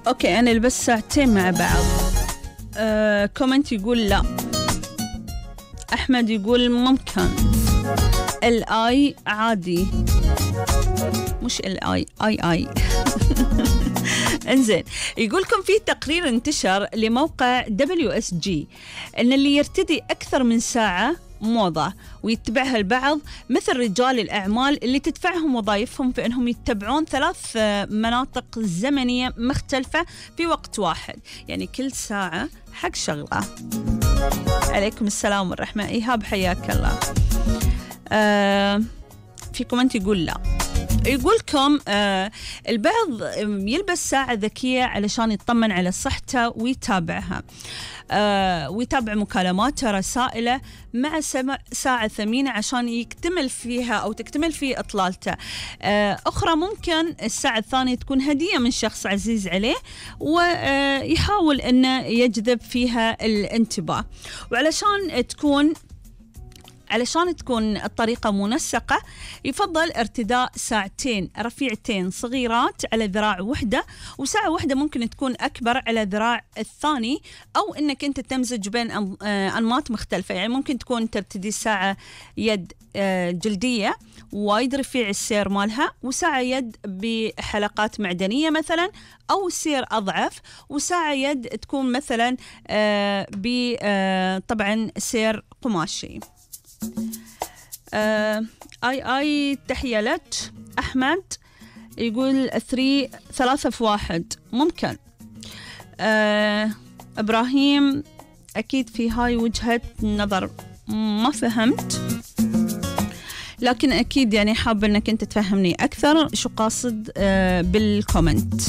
أوكي أنا ألبس ساعتين مع بعض. كومنت يقول لا. أحمد يقول ممكن. الآي عادي، مش الآي آي انزين. يقولكم في تقرير انتشر لموقع WSG ان اللي يرتدي اكثر من ساعة موضة ويتبعها البعض مثل رجال الأعمال اللي تدفعهم وظائفهم في أنهم يتبعون 3 مناطق زمنية مختلفة في وقت واحد، يعني كل ساعة حق شغلة. عليكم السلام والرحمة. إيهاب حياك الله. في كومنت يقول لا. يقولكم البعض يلبس ساعة ذكية علشان يطمن على صحته ويتابعها، ويتابع مكالماته رسائله مع ساعة ثمينة عشان يكتمل فيها أو تكتمل في إطلالته. أخرى ممكن الساعة الثانية تكون هدية من شخص عزيز عليه ويحاول أنه يجذب فيها الانتباه. وعلشان تكون الطريقة منسقة يفضل ارتداء ساعتين رفيعتين صغيرات على ذراع واحدة، وساعة واحدة ممكن تكون أكبر على ذراع الثاني، أو أنك أنت تمزج بين أنماط مختلفة. يعني ممكن تكون ترتدي ساعة يد جلدية وايد رفيع السير مالها، وساعة يد بحلقات معدنية مثلا، أو سير أضعف، وساعة يد تكون مثلا طبعا سير قماشي. اي تحية لك. أحمد يقول 3 في 1 ممكن. إبراهيم أكيد في هاي وجهة نظر ما فهمت، لكن أكيد يعني حاب أنك أنت تفهمني أكثر شو قاصد بالكومنت.